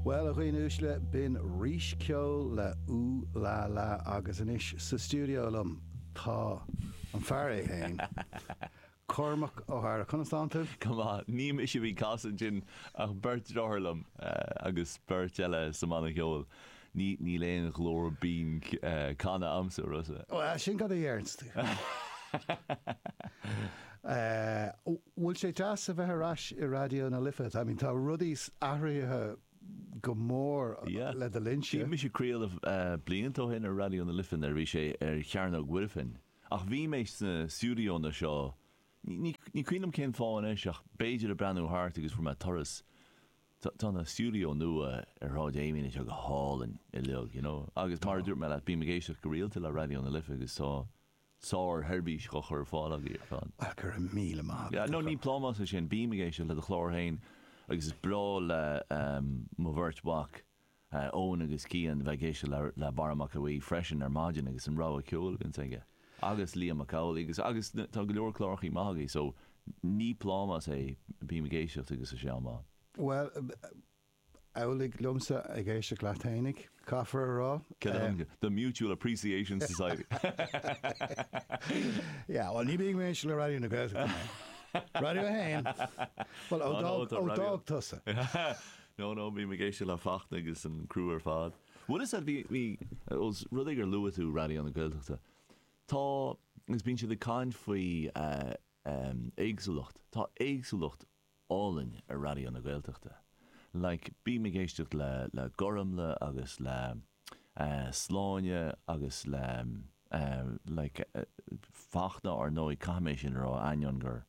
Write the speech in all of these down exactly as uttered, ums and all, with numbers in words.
Bhuel, a dhaoine uaisle, b'in Rís Ceol le Ooh La La agus anois sa stiúideo liom tá an fear é féin, Cormac Ó hEadhra. Conas tánn tú? Go maith. Ní mise a bhí ag casadh ansin ach beirt deartháir liom agus beirt eile sa mbanna ceoil. Ní níl aon ghlór binn canadh a'msa, Rossa. Bhuel, sin cad a deireanns tú. Bhfuil sé deas a bheith ar ais i Raidió na Life? I mean, tá rudaí athraithe go mór le do linnse. Bhí mise ag craoladh blianta ó shin ar Raidió na Life nuair a bhí sé ar Chearnóg Mhuirfean. Ach bhí mé sna stiúideonna seo, ní cuimhin liom cén fáth anois ach b'fhéidir ag breathnú thart agus fuair mé turas. Tá na stiúideo nua ar Shráid Amiens anseo go hálainn uilig, you know. Agus mar a dúirt mé leat, bím ag éisteacht go rialta le Raidió na Life agus tá sár-sheirbhís á chur ar fáil agaibh ar fad. Bhuel, go raibh míle maith agat. No, ní plámás é sin. Bím ag éisteacht le do chlár féin agus is breá le mo bheirt mhac, Eoin agus Cian, bheith ag éisteacht le Barra Mac Aodha Bhuí freisin ar maidin agus an rogha ceoil a bhíonns aige. Agus Liam Mac Amhlaigh agus agus tá go leor clárachaí maith agaibh so ní plámás é, bím ag éisteacht agus tá sé an-mhaith. Bhuel, amhlaidh liomsa ag éisteacht leat fhéinig, caithfear a rá. The Mutual Appreciation Society. Yeah, bhuel, ní bím ag éisteacht le Raidió na Gaeltachta mé. Raidió a haon. Bhuel, ó d'fhág, ó d'fhág tusa. No, no, bím ag éisteacht le Fachtna agus an criú ar fad. Bhfuil fhios a'd, bhí, bhí, ós rud é gur luaigh tú Raidió na Gaeltachta, tá, agus bíonn siad ag caint faoi éagsúlacht, tá éagsúlacht álainn ar Raidió na Gaeltachta. Like, bím ag éisteacht le le Gormlaith agus le Sláine agus le like Fachtna ar ndóigh, caithfidh mé sin a rá, ainneoin gur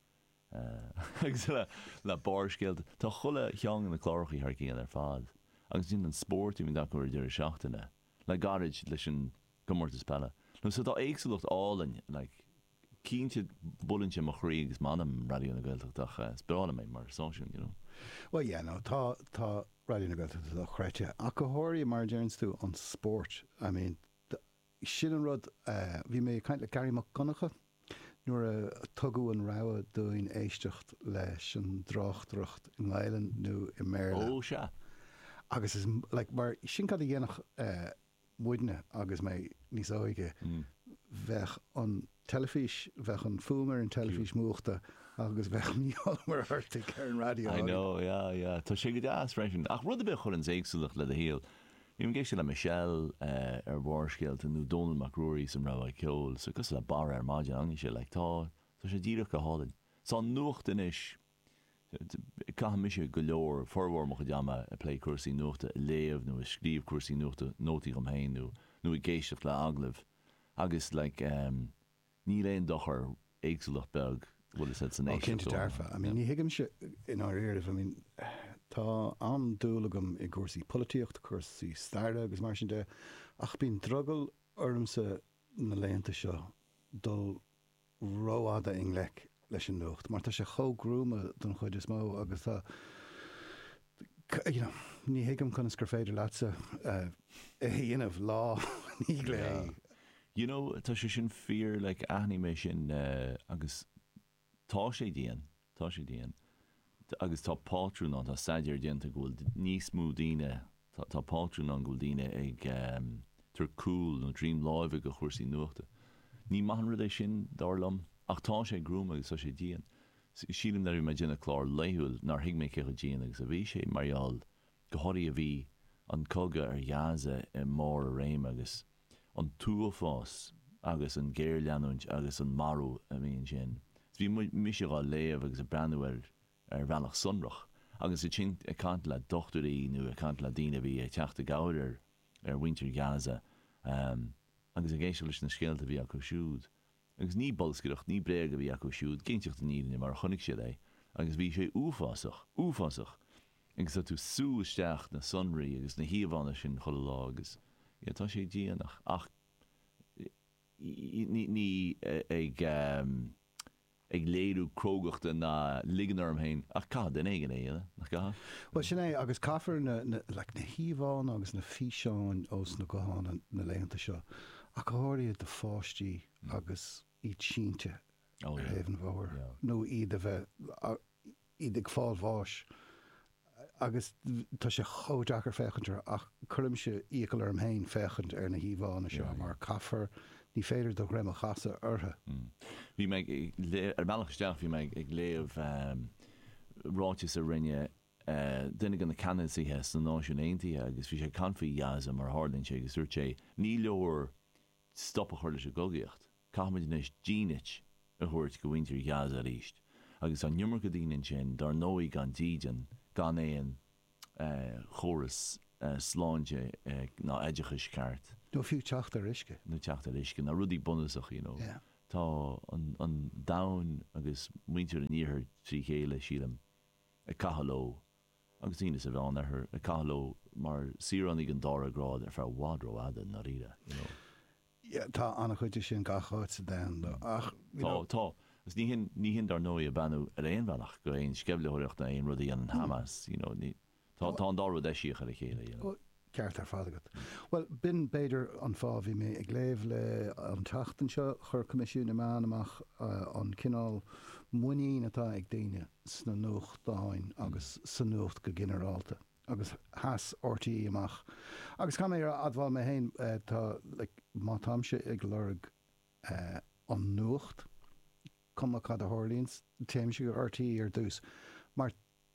agus le le Barrscéalta. Tá chuile cheann de na clárachaí thar cionn ar fad. Agus ansin an spórt a bhíonn acu ar deireadh seachtaine, le gairid leis an gcomórtas peile. No so tá éagsúlacht álainn, like, Cinnte, buaileann sé mo chroí agus m'anam, Raidió na Gaeltachta, ach is breá liom é mar stáisiún, you know. Bhuel, yeah, no, tá, tá Raidió na Gaeltachta dochreidte, ach go háirithe, mar a deireanns tú, an spórt. I mean, sin an rud, bhí mé ag caint le Garry Mac Donncha nuair a tugadh an rogha dúinn éisteacht leis an dtráchtaireacht i nGaelainn nó i mBéarla. Ó, sea. Agus is, like, mar sin cad a dhéanfadh muidne agus mé níos óige, bheadh an teilifís, bheadh an fuaim ar an teilifís múchta agus bheadh Mícheál Ó Muircheartaigh ar an raidió I know, yeah, yeah. Tá sé go deas freisin. Ach rud ar bith a chuireanns éagsúlacht le do shaol. Bím ag éisteacht le Michelle ar Bharrscéalta nó Dónall Mac Ruairí san rogha ceoil, so cosúil le Barra ar maidin, angaidh sé, like, tá, tá sé díreach go hálainn. Tá an nuacht anois, Caithim mise go leor, formhór mo chuid ama ag plé cúrsaí nuachta, ag léamh nó ag scríobh cúrsaí nuachta, nótaí dhom féin nó nó ag éisteacht le agallaimh agus like ehm níl aon dochar éagsúlacht beag, bhfuil fhios a'd, san Ó cinnte éisteacht dó. dearfa. I mean ní thuigimse i ndáiríribh, I mean tá an-dúil agam i gcúrsaí polaitíochta, cúrsaí staire agus mar sin de ach bíonn drogall ormsa na laethanta seo dul rófhada i ngleic leis an nuacht mar tá sé chomh gruama don chuid is mó agus tá you know ní thuigim conas gur féidir leatsa é a dhéanamh lá i ndiaidh lae. You know tá sé sin fíor like aithním é sin agus Tá sé dian, tá sé dian. Agus tá pátrún ann, tá staidéar déanta go bhfuil níos mó daoine, tá pátrún ann go bhfuil daoine ag tabhairt cúl nó droim láimhe do chúrsaí nuachta. Ní maith an rud é sin, dar liom, ach tá sé gruama agus tá sé dian. Sílim nuair a bhí mé ag déanamh clár laethúil nár thuig mé cé chomh dian agus a bhí sé mar gheall, go háirithe bhí an cogadh ar Ghaza i mbarr a réime agus an t-uafás agus an ghéarleanúint agus an marú a bhí ansin. Bhí mise dhá léamh agus ag breathnú air ar bhealach sonrach agus ansin ag caint le dochtúirí nó ag caint le daoine a bhí ag teacht i gcabhair ar ar mhuintir Ghaza agus ag éisteacht leis na scéalta a bhí acu siúd. Agus ní bolscaireacht, ní bréag a bhí acu siúd, ag inseacht an fhírinne mar a chonaic siad é agus bhí sé uafásach, uafásach! Agus tá tú ag sú isteach na sonraí agus na híomhánna sin chuile lá agus yeah tá sé dian ach ach ní ní ag ag léiriú crógachta ná ligean orm féin ach caithfidh duine éigin é a dhéanamh, nach gcaithfidh? Bhuel sin é agus caithfear na na like na híomhánna agus na físeáin ós na gutháin na laethanta seo ach go háirithe do pháistí agus iad sínte Oh ar yeah thaobh an bhóthair yeah. nó iad a bheith iad ag fáil bháis Agus tá sé chomh deacair féachaint air ach cuirimse iachall orm féin féachaint ar na híomhánna seo mar caithfear, ní féidir do dhroim a chasadh orthu. Bhí mé ag léamh, ar an mbealach isteach bhí mé ag léamh ráiteas a rinne duine de na ceannasaithe sna Náisiúin Aontaithe agus bhí sé ag caint faoi Ghaza mar a tharlaíonn sé agus dúirt sé ní leor stop a chur leis an gcogaíocht, caithfimid anois dínit a thabhairt go mhuintir Ghaza arís. Agus tá an iomarca daoine ansin, dar ndóigh gan dídean, gan aon chóras sláinte ná oideachais ceart. Nó fiú teacht ar uisce. Nó teacht ar uisce, ná rudaí bunúsacha, you know. Tá an domhan agus muintir an iarthair trí chéile, sílim, ag caitheamh leo, agus daoine sa Mheánoirthear, ag caitheamh leo mar saoránaigh den dara grád ar feadh i bhfad rófhada, i ndáiríre, you know. Yeah, tá an-chuid de sin gach áit sa domhan, though, ach, you know. Tá, tá. Agus ní hin, ní hin dar ndóigh ag beannú ar aon bhealach go aon sceimhlitheoireacht ná aon rud a dhéanann Hamas, you know, ní, tá, tá an dá rud eisiach ar a chéile, you know. Ceart ar fad agat. Bhuel, b'in b'fhéidir an fáth bhí mé ag léamh le an tseachtain seo, chuir Coimisiún na Meán amach an cineál muinín atá ag daoine sna nuachtáin agus sa nuacht go ginearálta. Agus sheas RTÉ amach. Agus caithfidh mé a admháil mé féin, tá, like, má táimse ag lorg an nuacht, cuma cad a tharlaíonns, téimse go RTÉ ar dtús. Mar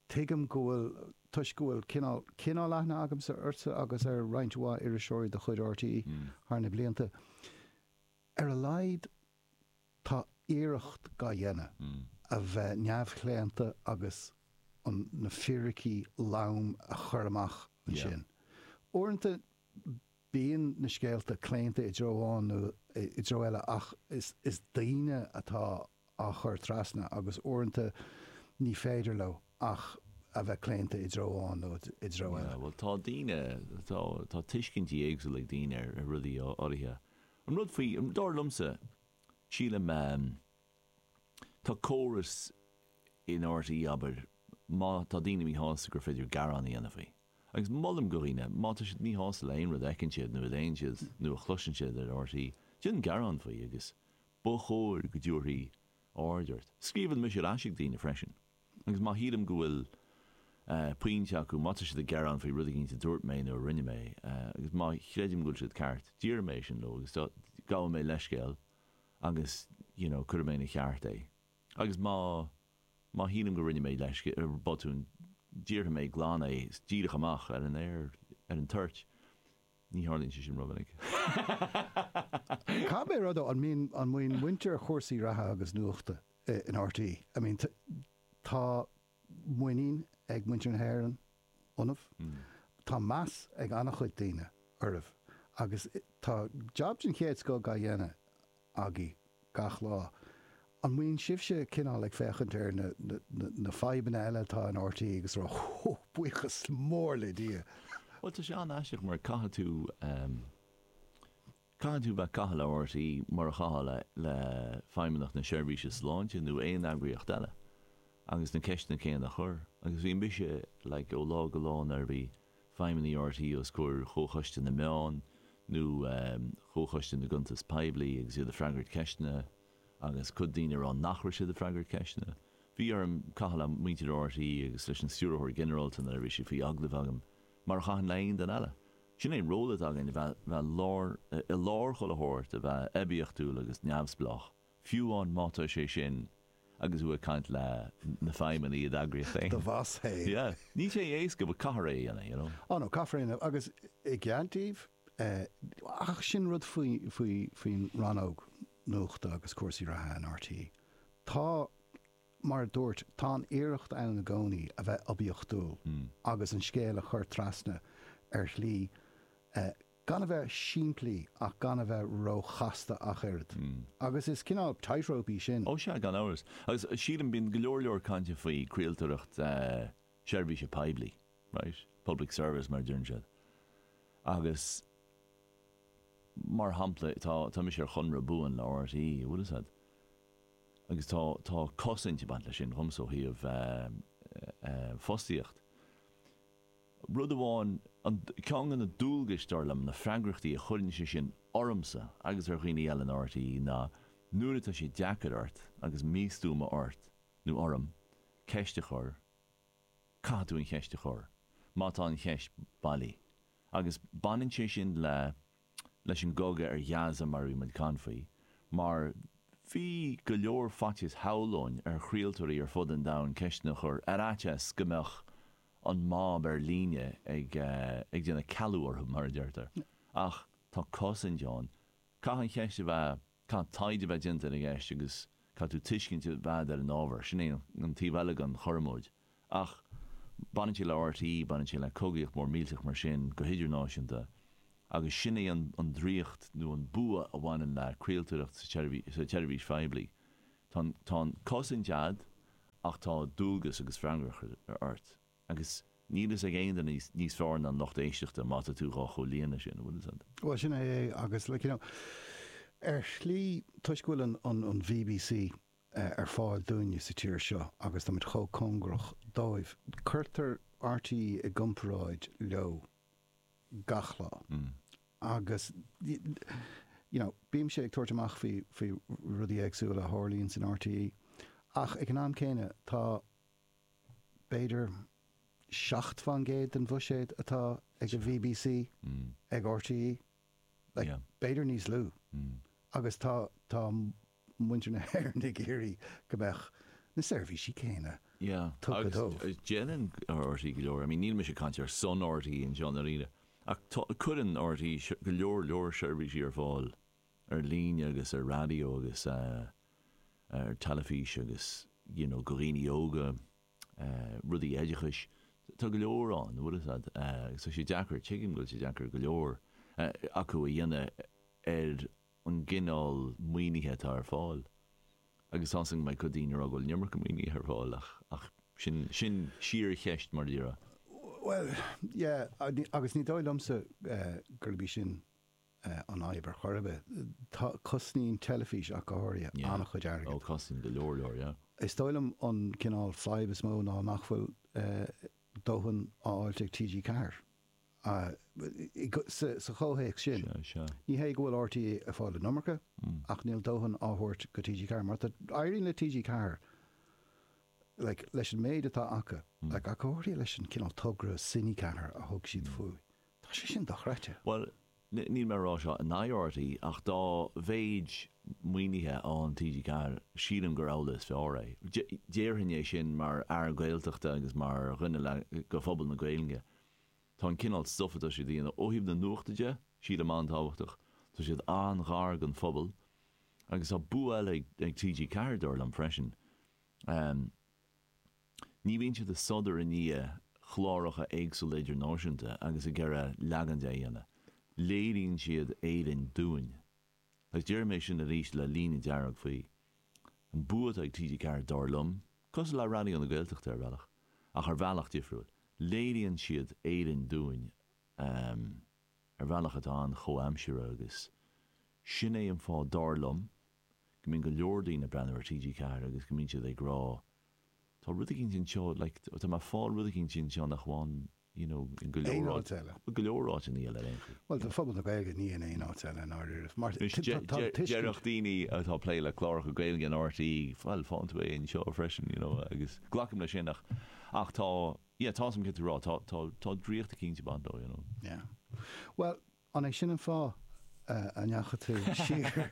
tuigim go bhfuil, toisc go bhfuil cineál, cineál aithne agamsa ortsa agus ar roinnt mhaith iriseoirí de chuid RTÉ thar na blianta, ar a laghad tá iarracht dhá dhéanamh a bheith neamhchlaonta agus an, na fíricí lom a chur amach ansin. Uaireanta bíonn na scéalta claonta i dtreo amháin nó i dtreo eile ach is, is daoine atá á chur trasna agus uaireanta ní féidir leo ach a bheith claonta i dtreo amháin nó i dtreo eile. Bhuel, tá daoine, tá, tá tuiscintí éagsúla ag daoine ar, ar rudaí áirithe. An rud faoi, dar liomsa, sílim, tá córas in RTÉ, abair, má tá daoine míshásta gur féidir gearán a dhéanamh faoi. Agus molaim go dhaoine, má tá siad míshásta le aon rud a fheiceann siad nó a léann siad nó a chloiseann siad ar RTÉ, déan gearán faoi agus ba chóir go dtabharfaí aird ort. Scríobhann mise ar ais ag daoine freisin. Agus má shílim go bhfuil pointe acu, má tá siad ag gearán faoi rud éicint a dúirt mé nó a rinne mé, agus má chreidim go bhfuil siad ceart, déarfaidh mé sin leo agus gabhfaidh mé leithscéal agus you know cuirfidh mé ina cheart é. Agus má má shílim go rinne mé leithscéal, botún, déarfaidh mé glan é díreach amach ar an aer, ar an toirt. Ní tharlaíonn sé sin rómhinic. Caithfidh mé a rá though, an mbíonn an mbíonn muintir chúrsaí reatha agus nuachta in RTÉ? I mean, tá muinín ag muintir na hÉireann ionaibh. Tá meas ag an-chuid daoine oraibh agus tá jab den chéad scoth dhá dhéanamh agaibh gach lá. An mbíonn sibhse cineál ag féachaint ar na, na, na fadhbanna eile atá in RTÉ agus rá, Hó, buíochas mór le Dia! Bhuel, tá sé an-aisteach mar caithfidh tú, caithfidh tú bheith ag caitheamh le RTÉ mar a chaithfeá le, le Feidhmeannacht na Seirbhíse Sláinte nó aon eagraíocht eile agus na ceisteanna céanna a chur. Agus bhí mise, like, ó lá go lá nuair a bhí feidhmeannaigh RTÉ os comhair Chomhchoiste na Meán nó Chomhchoiste na gCuntas Poiblí agus iad ag freagairt ceisteanna agus cuid daoine ag rá nach raibh siad ag freagairt ceisteanna. Bhí orm caitheamh le muintir RTÉ agus leis an Stiúrthóir Ginearálta nuair a bhí sé faoi agallamh agam, mar a chaithfinn le aon duine eile. Sin é an ról atá againn, a bheith bheith lár, i lár chuile shórt, a bheith oibiachtúil agus neamhspleách, fiú amháin má tá sé sin agus tú ag caint le na feidhmeannaigh i d'eagraíocht féin. Do bhoss féin. Yeah. Níl sé éasca, but caithfear é a dhéanamh, you know. Oh no, caithfear é a dhéanamh agus i gcead daoibh, ach sin rud faoi, faoi, faoin rannóg nuachta agus cúrsaí reatha in RTÉ. Tá, mar a dúirt, tá an iarracht ann i gcónaí a bheith oibiachtúil agus an scéal a chur trasna ar shlí gan a bheith simplí ach gan a bheith ró-chasta ach oiread. Agus is cineál tightrope í sin. Ó sea, gan amhras. Agus sílim, bíonn go leor leor cainte faoi craoltóireacht seirbhíse poiblí, right? Public service mar a deireann siad. Agus mar shampla, tá, tá mise ar chonradh buan le RTÉ, bhfuil fhios a'd? Agus tá, tá cosaint ag baint leis sin dhomsa ó thaobh fostaíocht. Rud amháin, an, ceann de na dualgais, dar liom, na freagrachtaí a chuireann sé sin ormsa agus ar dhaoine eile in RTÉ ná nuair atá sé deacair ort agus místuama ort nó orm ceist a chur, Caithfidh tú an cheist a chur, má tá an cheist bailí. Agus baineann sé sin le leis an gcogadh ar Ghaza mar a bhí muid ag caint faoi, mar bhí go leor faitíos shamhlóinn ar chraoltóirí ar fud an domhain ceisteanna a chur ar fhaitíos go mbeadh an mob ar líne ag ag déanamh cealú orthu, mar a deirtear. Ach tá cosaint ann. Caithfidh an cheist a bheith, caithfidh taighde a bheith déanta ar an gceist agus caithfidh tú tuiscint a bheith agat ar an ábhar. Sin é an taobh eile den chothromóid. Ach baineann sé le RTÉ, baineann sé le cogaíocht mór millteach mar sin go hidirnáisiúnta agus sin é an draíocht nó an bua a bhaineann le craoltóireacht sa tseirbhís phoiblí. Tá an cosaint a'd ach tá dualgas agus freagracht ort agus níl fhios ag aon duine níos fearr ná an lucht éisteachta má tá tú dhá chomhlíonadh sin, an bhfuil fhios a'd? Bhuel, sin é é agus like, you know, ar shlí toisc go bhfuil an, an, an BBC ar fáil dúinne sa tír seo agus táimid chomh cóngarach dóibh, cuirtear RTÉ i gcomparáid leo gach lá. Agus you know, bímse ag tabhairt amach faoi, faoi rudaí éagsúla a tharlaíonn san RTÉ ach ag an am céanna tá b'fhéidir seacht fán gcéad den bhuiséad atá ag an BBC ag RTÉ, like, b'fhéidir níos lú. Agus tá, tá muintir na hÉireann ag iarraidh go mbeadh na seirbhísí céanna tugtha dóibh. Agus déanann RTÉ go leor, I mean níl mise ag caint ar son RTÉ anseo i ndáiríre, ach tá, cuireann RTÉ go leor leor seirbhísí ar fáil ar líne agus ar raidió agus ar teilifís agus you know go dhaoine óga, rudaí oideachais, tá go leor ann, an bhfuil fhios a'd, agus tá sé deacair, tuigim go bhfuil sé deacair go leor acu a dhéanamh ar an gcineál maoinithe atá ar fáil. Agus tá 'fhios a'm go mbeidh cuid daoine ag rá go bhfuil an iomarca maoinithe ar fáil ach, ach sin, sin síorcheist mar a déarfá. Bhuel, yeah, agus ní dóigh liomsa gurb í sin an fhadhb ar chor ar bith. Tá, cosnaíonn teilifís ach go háirithe, an-chuid airgid. Ó, cosnaíonn go leor leor, yeah. Is dóigh liom an cineál fadhb is mó ná nach bhfuil dóthain á fháilt ag TG Ceathair. Sa chomhthéacs sin, ní hé go bhfuil RTÉ ag fáil an iomarca, ach níl dóthain á thabhairt go TG Ceathair. Mar tá, éiríonn le TG Ceathair, like, leis an méid atá acu, like, ach go háirithe leis an cineál togra Cine Ceathair a thug siad faoi, tá sé sin dochreidte. Bhuel, níl mé ag rá seo in aghaidh RTÉ, ach dá mhéid maoinithe a fhaigheann TG Ceathair, sílim gur amhlaidh is fearr é. Déarfainn é sin mar fhear Gaeltachta agus mar dhuine le go phobal na Gaeilge. Tá an cineál stuif atá siad a dhéanamh ó thaobh na nuachta de, sílim an-tábhachtach. Tá siad an-ghar don phobal. Agus tá bua eile ag TG Ceathair, dar liom, freisin. Ní bhíonn siad ag sodar i ndiaidh chláracha éagsúla idirnáisiúnta agus ag iarraidh leagan de a dhéanamh. Léiríonn siad Éirinn dúinn. Agus déarfaidh mé sin arís le líne dearg faoi. An bua atá ag TG Ceathair, dar liom, cosúil le Raidió na Gaeltachta ar bhealach, ach ar bhealach difriúil, léiríonn siad Éirinn dúinn ar bhealach atá an-chomhaimseartha agus sin é an fáth, dar liom, go mbíonn go leor daoine ag breathnú ar TG Ceathair agus go mbíonn siad ag rá tá rud eicínt anseo, like, tá mé ag fáil rud eicínt anseo nach bhfaighim, you know, in go leor áit eile. Go leor áiteanna eile ar aon chaoi. Bhuel, do phobal na Gaeilge ní in aon áit eile i ndáiríre. Mar tá tuiscint. Déarfadh daoine atá ag plé le cláracha Gaeilge in RTÉ, bhuel, faigheann tú é anseo freisin, you know, agus glacaim leis sin ach, ach tá, yeah, tá 'fhios a'm céard tá tú a rá, tá, tá, tá draíocht eicínt ag baint leo, you know. Yeah. Bhuel, an é sin an fáth a ndeachaigh tú siar?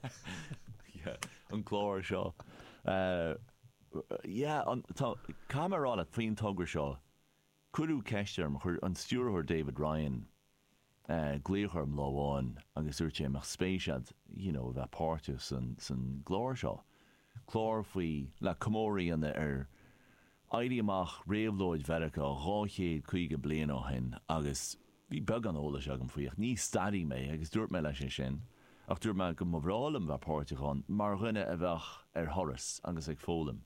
Yeah, an clár seo. Yeah, an, tá, caithfidh mé a rá leat faoin togra seo, cuireadh ceist orm, chuir an stiúrthóir David Ryan glaoch orm lá amháin agus dúirt sé an mbeadh spéis a'd, you know, a bheith páirteach san, san gclár seo. Clár faoi, le comóradh a dhéanamh ar Éirí Amach Réabhlóid Mheiriceá dhá chéad caoga bliain ó shin agus bhí beagán eolais agam faoi ach ní staraí mé agus dúirt mé leis é sin ach dúirt mé go mba bhreá liom bheith páirteach ann mar dhuine a bheadh ar thuras agus ag foghlaim.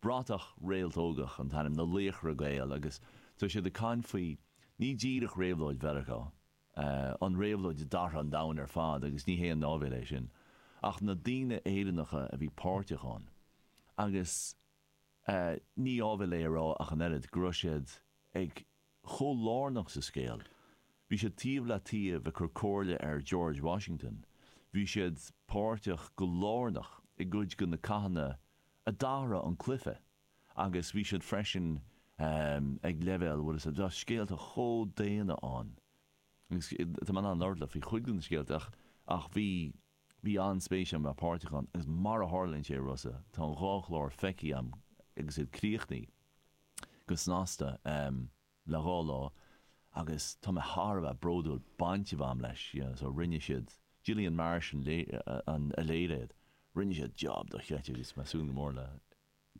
Bratach Réaltógach an t-ainm, na Laochra Gael agus tá siad ag caint faoi ní díreach Réabhlóid Mheiriceá, an réabhlóid a d'athraigh an domhan ar fad agus ní haon áibhéil é sin, ach na daoine Éireannacha a bhí páirteach ann agus ní áibhéil é a rá ach an oiread go raibh siad ag chomh lárnach sa scéal. Bhí siad taobh le taobh ag cur comhairle ar George Washington. Bhí siad páirteach go lárnach i gcuid de na cathanna a d'athraigh an cluiche agus bhí siad freisin ag leibhéal, bhfuil a fhios agat, tá scéalta chomh daonna ann. Agus tá mé in ann labhairt leat faoi chuid de na scéalta ach ach bhí bhí an-spéis agam bheith páirteach ann agus mar a tharlaíonn sé, a Rossa, tá an dhá chlár feicthe agam agus iad críochnaithe go snasta le dhá lá agus tá mé thar a bheith bródúil baint a bheith agam leis, you know, so rinne siad, Gillian Marsh an an a léirigh iad, rinne siad job dochreidte agus mé ag súil go mór le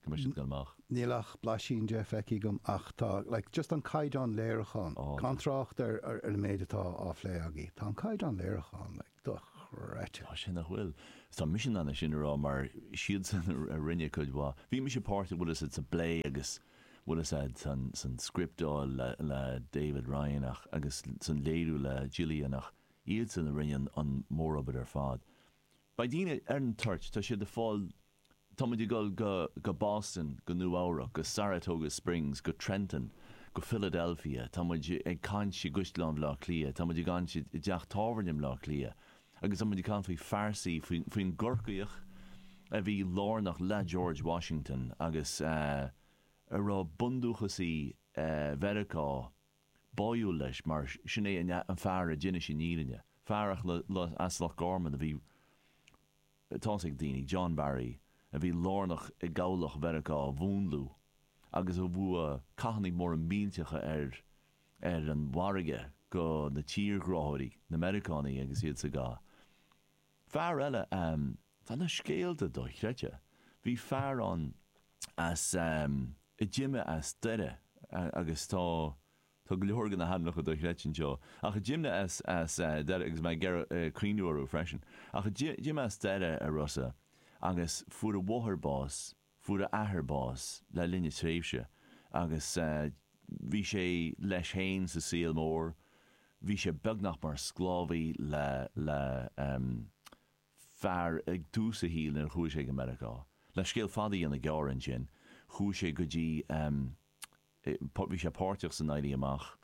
go mbeidh siad ag dul amach. Níl ach blaisín de feicthe agam ach tá, like, just an caighdeán léiriúcháin, gan trácht ar ar an méid atá á phlé agaibh, tá an caighdeán léiriúcháin, like, dochreidte. Tá sé nach bhfuil. Is tá mise in ann é sin a rá mar siadsan a rinne cuid mhaith. Bhí mise páirteach, bhfuil a fhios agat, sa bplé agus bhfuil a fhios agat, san san scriptáil le le David Ryan ach agus san léiriú le Gillian ach iadsan a rinne an an mórobair ar fad. Beidh daoine ar an toirt, tá siad ag fáil Tá muid ag dul go go Boston, go Nua Eabhrac, go Saratoga Springs, go Trenton, go Philadelphia, tá muid ag caint i gCaisleán Bhaile Átha Cliath, tá muid ag caint i dteach tábhairne i mBleá Cliath agus tá muid ag caint faoi phearsaí, faoi faoin gCorcaíoch a bhí lárnach le George Washington agus a raibh bundúchasaigh Mheiriceá báúil leis mar sin é an fear a d'inis an fhírinne, fear as Loch Garman a bhí Tá's ag daoine, John Barry, a bhí lárnach i gcabhlach Mheiriceá a mhúnlú agus a bhuaigh cathanna móra millteacha ar ar an bhfarraige go na tírghráthóirí, na Meiriceánaigh agus iad sa gcath. Fear eile, tá na scéalta dochreidte. Bhí fear ann as, a d'imigh as Doire agus tá, Tá go leor de na hainmneacha dochreidte anseo, ach a d'imigh as as Doire, agus mé ag iarraidh cuimhniú orthu freisin, ach a d'imigh as Doire, a Rossa, agus fuair a mháthair bás, fuair a athair bás le linn na tréimhse, agus bhí sé leis féin sa saol mór, bhí sé beagnach mar sclábhaí le le fear ag tús a shaoil nuair a chuaigh sé go Meiriceá. Le scéal fada a dhéanamh gearr ansin, chuaigh sé go dtí. Bhí sé páirteach san Éirí Amach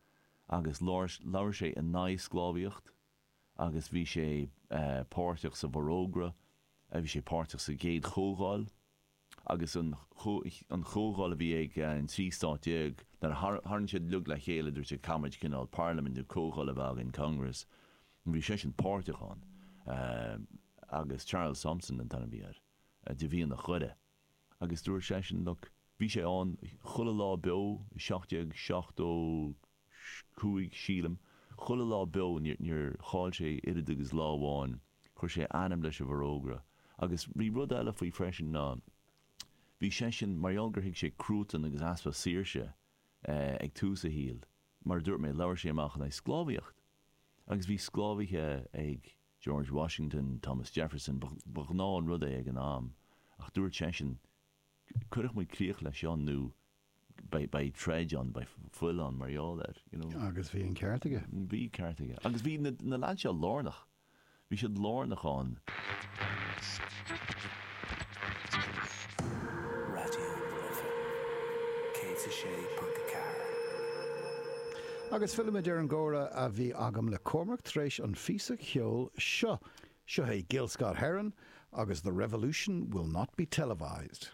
agus labhair sé in aghaidh sclábhaíocht agus bhí sé páirteach sa bhForógra, bhí sé páirteach sa gcéad chomhdháil agus an chomhdháil a bhí ag an trí stát déag nuair a tharraing siad uilig le chéile dúirt siad caithfimid cineál parlaimint nó comhdháil a bheith againn, Congress, bhí seisean páirteach ann agus Charles Thompson an t-ainm a bhí air, de mhianach Dhoire. Agus dúirt seisean, look, bhí sé ann chuile lá beo i seacht déag seachtó cúig, sílim, chuile lá beo, níor chaill sé oiread agus lá amháin, chuir sé a ainm leis an bhforógra. Agus bhí rud eile faoi freisin ná, bhí seisean, mar gheall gur thuig sé cruatan agus easpa saoirse ag tús a shaoil, mar a dúirt mé, labhair sé amach in aghaidh sclábhaíocht. Agus bhí sclábhaithe ag George Washington, Thomas Jefferson, ba ghnáth an rud é ag an am, ach dúirt seisean, cuirfidh muid críoch leis seo nó beidh troid ann, beidh fuil ann mar gheall air, you know. Agus bhí an ceart aige. Bhí ceart aige. Agus bhí na na lads seo lárnach. Bhí siad lárnach ann. Raidió na Life céad a sé ponc a ceathair. Agus fillimid ar an gcomhrá a bhí agam le Cormac tar éis an phíosa cheoil seo. Seo é Gil Scott-Heron agus The Revolution Will Not Be Televised.